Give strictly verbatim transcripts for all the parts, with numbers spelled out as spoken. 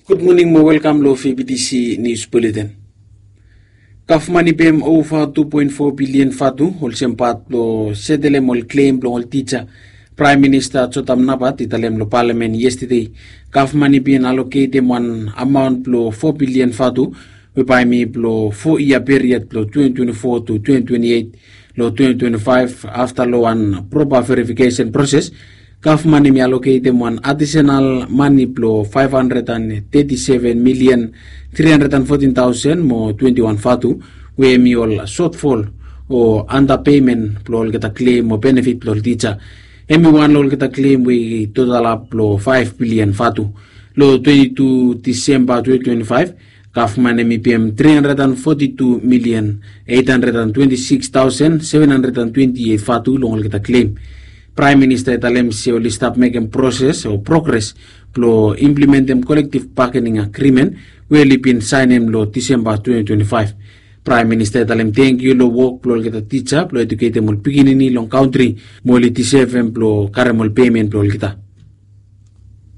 Gud moning mo welkam long V B T C News Bulletin. Gavman i pem ova tu poen fo bilian vatu olsem pat blong setelem ol klem blong ol tija. Praem Minista Jotam Napat i talem long palamen yestade gavman i bin aloketem wan amaon blong fo bilian vatu we bae hem i blong fo yia period blong twenty twenty-four to twenty twenty-eight. Long twenty twenty-five, afta long wan propa verifikesen proses, gavman hem i aloketem wan adisenal mane blong five hundred and thirty-seven million three hundred and fourteen thousand mo twenty-one vatu, we hem i ol sotfol o anda pemen blong olgeta klem o benefit blong ol tija. Hem i wan long olgeta klem we i totalap long five bilian vatu. Long twenty-two Disemba twenty twenty-five, gavman hem i pem three hundred and forty-two million eight hundred and twenty-six thousand seven hundred and twenty-eight vatu long olgeta klem. Praem Minista i talem se oli stap mekem proses o progres blong implementem kolektiv bagening agrimen we oli bin saenem long Disemba twenty twenty-five. Praem Minista i talem tangkiu long wok blong olgeta tija blong eduketem ol pikinini long kantri mo oli disevem blong karem ol pemen blong olgeta.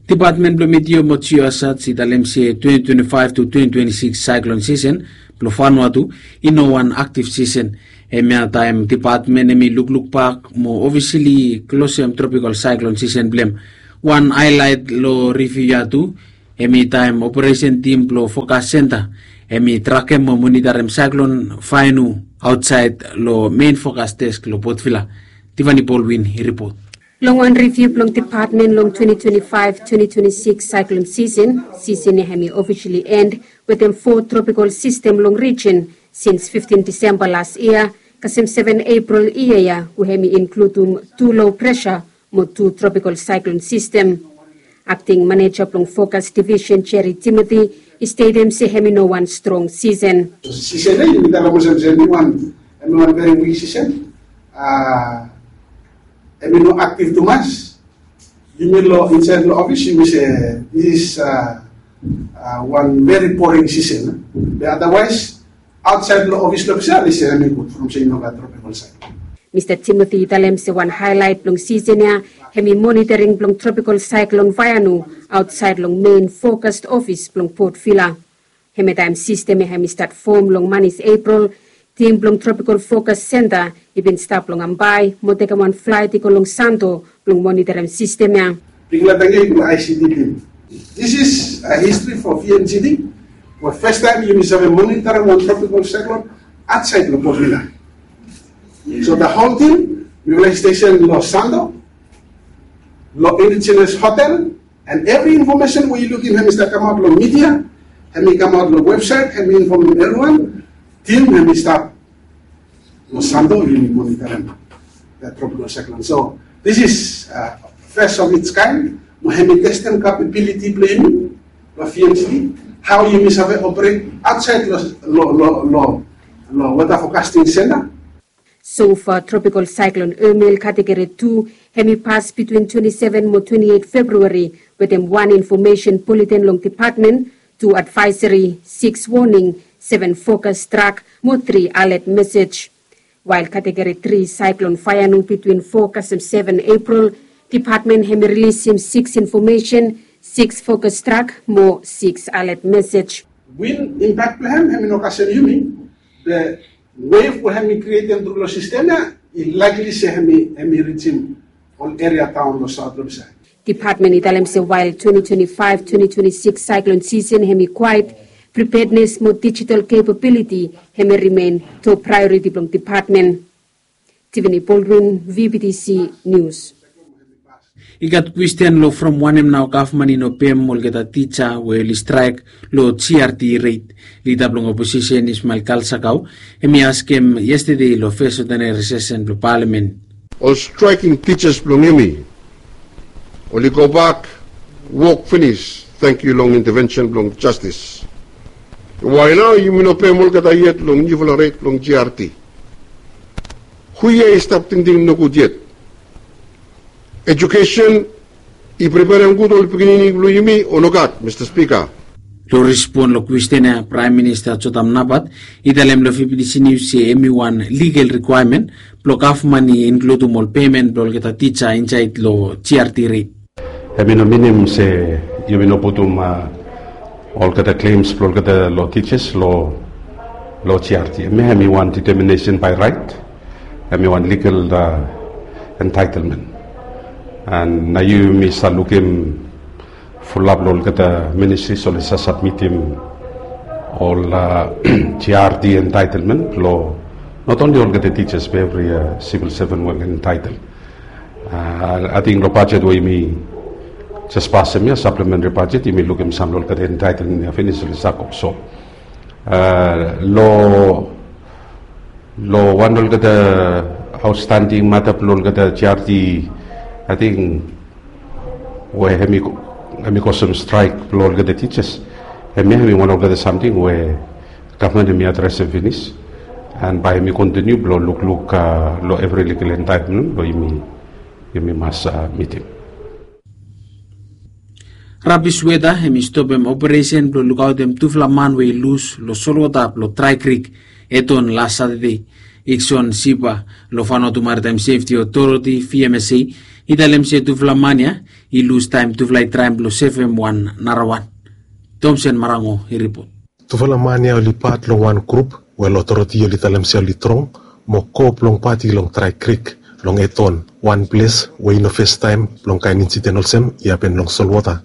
Dipatmen blong Meteo mo Geosat i talem se twenty twenty-five to twenty twenty-six saeklon sisen blong Vanuatu i no wan aktiv sisen. Hemia taem dipatmen hem i lukluk bak mo ofisili klosem tropikal saeklon sisen blong hem. Wan haelaet long riviu ya tu, hem i taem operesen tim blong fokas senta hem i trakem mo monitarem saeklon Vainu aotsaed long mein fokas desk long Potvila. Tivani Bolwin i ripot. Long wan riviu blong dipatmen long twenty twenty-five twenty twenty-six saeklon sisen, sisen ya hem i ofisili en wetem fo tropikal sistem long rijin sins fiftin Disemba las yia kasem seven Epril yia ya, we hem i inkludum tu lo presa mo tu tropikal saeklon sistem. Akting maneja blong fokas divisen Jerry Timothy i stetem se hem i no wan strong sisen. Sisen ya yumi talem olsem se hem i wan, hem i wan veri wik sisen. Hem i no aktiv tumas. Yumi long insaed long ofis yumi se this is wan veri boring sisen. Be adawaes aotsaed long ofis long ofis ya oli se hem i gud from se i no gat tropikal saeklon. Mista Timothy i talem se wan haelaet blong sisen ya hem i monitaring blong tropikal saeklon Vainu aotsaed long mein fokas ofis blong Potvila. Hemia taem sistem ya hem i stat fom long manis Epril, tim blong tropikal fokas senta i bin stap long Ambae mo tekem wan flaet i go long Santo blong monitarim sistem ya. Bigfala tangkiu long ICT tim. This is a history for VMGD. We fastaem yumi save monitarim wan tropikal saeklon aotsaed long Potvila. So the whole team, mifala i stesen long Santo, long Indigenous Hotel, and evri infomesen we yu lukim hem i stap kamaot long midia, hem i kamaot long websaet, hem i infomem evriwan, tim hem i stap long Santo yumi monitarim that tropical cyclone. So this is first of its kind. Mo hem i testem kapabiliti blong yumi long VMGD, hao yumi save operet aotsaed long weta fokasting senta. So far, Tropical Cyclone Emil kategori tu hem i pas bitwin twenti seven mo twenti eit Februari wetem wan infomesen buletin long depatmen, tu advaesori, sikis woning, seven fokas trak mo tri alet mesej. Wael kategori tri Cyclone Vaianu bitwin fo kasem seven Epril, depatmen hem i rilisim sikis infomesen, sikis fokas trak mo sikis alet mesej. Win impak blong hem hem i no kasem yumi, be wef we hem i krietem tru long sistem ya i laekli se hem i rijim ol eria daon long saot long bisaed. Depatmen i talem se wael twenti twenti faef twenti twenti sikis saeklon sisen hem i kwaet, pripednes mo dijital kepabiliti hem i rimen top praeoriti blong depatmen. Tiffany Baldwin, VBTC Nius. I gat kwesten long from wanem nao gavman i no pem olgeta tija we oli straek long GRT reit. Lida blong oposisen Ismael Kalsakau hem i askem yestade long fes odeneri sesen blong palamen. Ol straeking tijas blong yumi oli gobak wok finis, tangkiu long intevensen blong jastis. Wae nao yumi no pem olgeta yet long niufala ret blong GRT? Hu ya i stap tingting nogud yet? Ejukesen i preperem gud ol pikinini blong yumi o nogat, Mista Spika? Long respon long kwesten ya, Praem Minista Jotam Napat i talem long VBTC Nius se hem i wan ligal rikwaemen blong gavman i inkludum ol pemen blong olgeta tija insaed long GRT reit. Hem i no minim se yumi no putum Olgeta claims blong olgeta long teachers long long G R T, hemia hemi wan determination by right, hemi wan legal entitlement. And nao yumi sa lukim fulap long olgeta ministries oli sa submitim ol G R T entitlement long not only olgeta teachers but every civil servant we entitled. Ating long bajet we yumi jes pasem ia, supplementary budget, yumi lukim sam long olgeta entitlement ia finis oli sa go. So long long wan olgeta outstanding mata blong olgeta G R T, ating we hemi hemi kosem straik blong olgeta teachers, hemia hemi wan olgeta samting we gavman hemi adresem finis. And bae hemi kontiniu blong lukluk long evri legal entitlement blong yumi yumi mas mitim. Rabis weta hemi stopem operesen blong lukaotem tufala man we i lus long solwota blong Drai Krik, Eton, las Satade. Ikson Sipa long Vanuatu Maritime Safety Authority, V M S A, i talem se tufala man ia i lus taem tufala i traem blong sevem wan narawan. Tomsen Marango i ripot. Tufala man ia oli pat long wan grup we ol otoriti oli talem se oli trong mo go blong pati long Drai Krik long Eton, wan ples we i no fes taem blong kaen insiden olsem i hapen long solwota.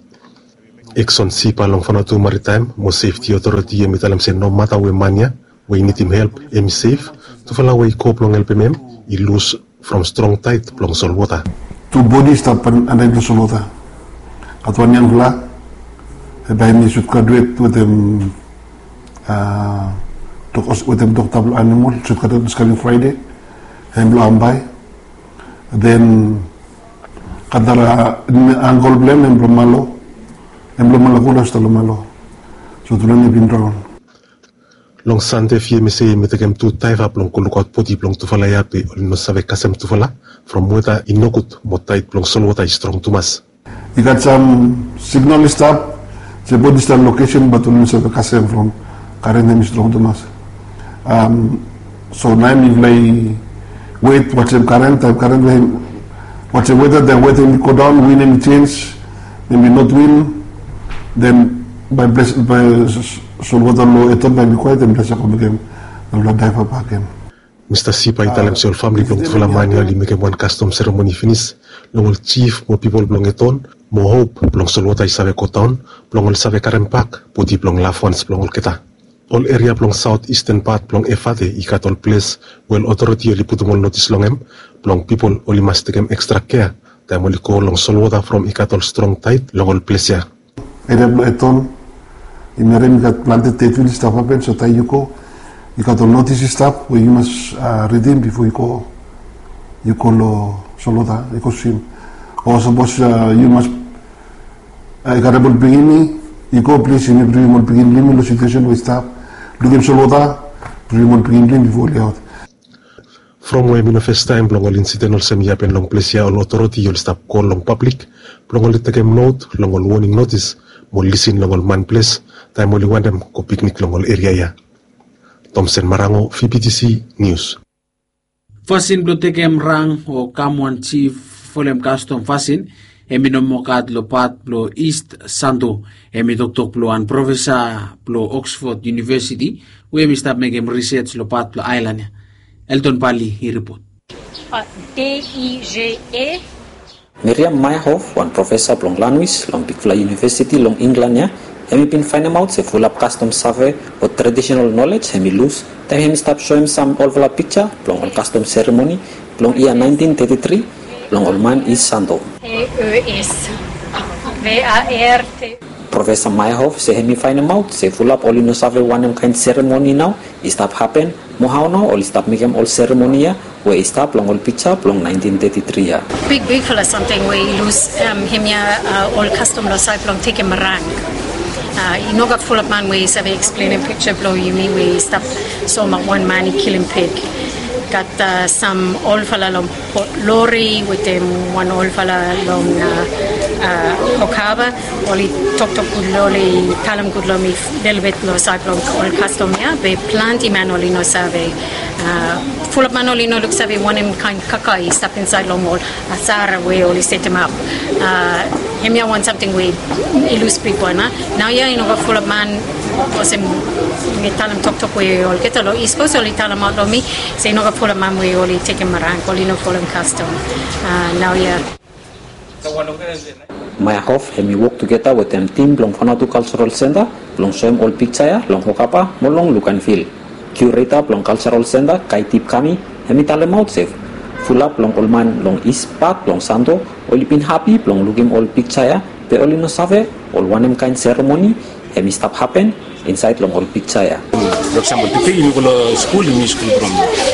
Ikson Sipa long Vanuatu Maritime mo Safety Authority hemi talem se nomata we man ia we i nidim help hemi sef, tufala we i go blong helpem hem i lus from strong taet blong solwota. Tu bodi i stap anaen blong solwota. Gat wan yangfala, bae hemi sut graduet wetem wetem dokta blong animol, sut graduet diskamin Fraede, hem blong Ambae. Den gat nara angkol blong hem, hem blong Malo, hem blong Malo, kula stap long Malo. So tufala ni bin draon. Long Sande V M S A hemi tekem tu daiva blong go lukaot bodi blong tufala ia be oli no save kasem tufala from weta i nogud mo taet blong solwota i strong tumas. I gat sam signal i stap se bodi i stap lokesen bat oli no save kasem from karen hemi strong tumas. So naoia mifala i wet watem karen, taem karen we watem weta, taem weta hemi godaon, win hemi jenj, hemi not win, den bae ples bae solwota long Eton bae hemi kwaet, hemi jes go mekem narafala daiva bakegen. Mista Sipa i talem se ol famili blong tufala man ia oli mekem wan kastom seremoni finis long ol jif mo pipol blong Eton mo hop blong solwota i save godaon blong oli save karem bak bodi blong lafwans blong olgeta. Ol eria blong saot isten pat blong Efate i gat ol ples we ol otoriti oli putum ol notis long hem blong pipol oli mas tekem ekstra kea taem oli go long solwota from i gat ol strong taet long ol ples ia. Eria blong Eton, i merem i gat plante ded wil i stap hapen, so taem yu go i gat ol notis i stap we yu mas ridim bifo yu go, yu go long solwota yu go swim. O sapos yu mas i gat ol pikinini, i go plis yumi bringim ol pikinini long situesen we i stap, lukim solwota, bringim ol pikinini bifo oli aot. From we hemi no fes taem blong ol insiden olsem i hapen long ples ia, ol otoriti oli stap kol long pablik blong oli tekem not long ol woning notis mo lisin long ol man ples taem oli wantem go piknik long ol eria ia. Tomsen Marango, V P T C News. Fasin blong tekem rang o kam wan jif folem kastom fasin, hemi no moa gat long pat blong East Santo. Hemi toktok blong wan profesa blong Oxford University we hemi stap mekem risej long pat blong aelan ia. Elton Bali i ripot. Miriam Meyerhoff, wan profesa blong lanwis long bigfala yunivesiti long Inglan ia, hemi bin faenemaot se fulap kastom save o tradisenal nolej hemi lus taem hemi stap soem sam olfala pikja blong ol kastom seremoni blong yia naentin teti tri blong ol man East Santo. Profesa Meyerhoff se hemi faenemaot se fulap oli no save wanem kaen seremoni nao i stap hapen mo hao nao oli stap mekem ol seremoni ia we i stap long ol pikja blong naentin teti tri ia. Big, bigfala samting we i lus, hemia ol kastom long saed blong tekem rang. I no gat fulap man we i save eksplenem pikja blong yumi we i stap soemaot wan man i kilim pig. Gat sam olfala long Port Lori wetem wan olfala long Okaba. Oli toktok gud long, oli talem gud long mi lelebet long saed blong ol kastom ia, be plante man oli no save. Fulap man oli no luksave wanem kaen kaka i stap insaed long ol asara we oli setemap. Hemia wan samting we i lus bigwan, a. Naoia i no gat fulap man, olsem mi talem toktok we olgeta long East Coast oli talemaot long mi se i no gat fulap man we oli tekem rank, oli no folem kastom. A, naoia. Maya Hof hemi wok tugeta wetem tim blong Vanuatu Cultural Centre blong soem ol piksa ya long Hokapa mo long Luganville. Kiureta blong Cultural Centre, Kaitip Kami, hemi talemaot se fulap long ol man long East pat blong Santo oli bin hapi blong lukim ol piksa ya, be oli no save ol wanem kaen seremoni hemi stap hapen insaed long ol piksa ya. Long eksampol, tede yumi go long skul, yumi skul from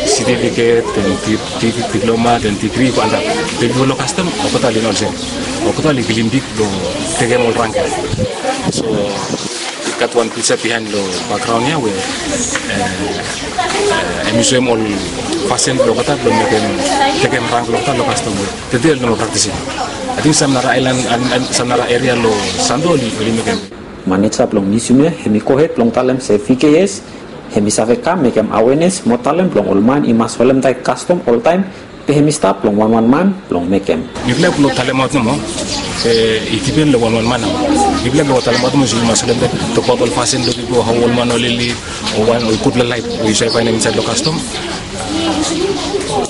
setifiket, den di-, di-, diploma, den digri, go antap. Be yumi go long kastom, olgeta oli no olsem. Olgeta oli kilim bik blong tekem ol rank ya. So, i gat wan piksa bihaen long bakgraon ya we, e, e, hemi soem ol fasin blong olgeta blong mekem, tekem rank blong olgeta long kastom we tede oli no moa praktisim. Ating sam nara aelan, an, an, sam nara eria long Santo oli, oli mekem. Maneja blong miusiam ya hemi gohed blong talem se V K S hemi save kam mekem awenes mo talem blong ol man i mas holemtaet kastom oltaem, be hemi stap long wanwan man blong mekem. Mifala i no talemaot nomo, e, i dipen long wanwan man nao. Mifala i no talemaot nomo se yu mas holemtaet, tokbaot ol fasin blong pipol, hao ol man oli liv, o wan ol gudfala laef we yu save faenem insaed long kastom.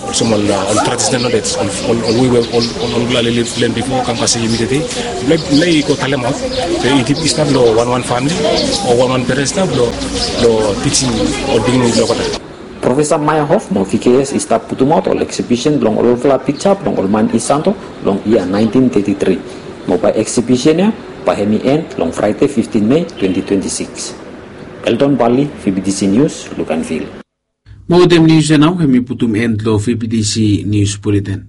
Olsem ol, a, ol traditional knowledge, ol, ol, ol wei we ol, ol, olgeta oli liv long hem bifo, kam kasem yumi tede. Mifala i, mifala i go talemaot, be i dip, i stap long wanwan famili o wanwan perentsla blong, blong tijim ol pikinini blong olgeta. Profesa Maya Hof mo V K S i stap putumaot ol eksibisen blong olfala piksa blong ol man East Santo long yia naentin teti tri. Mo bae eksibisen ya bae hemi en long Fraede fiftin Mei twenti twenti sikis. Elton Bali, V B T C News, Luganville. Mo wetem nius ya nao hemi putum en long V B T C Nius Buleten.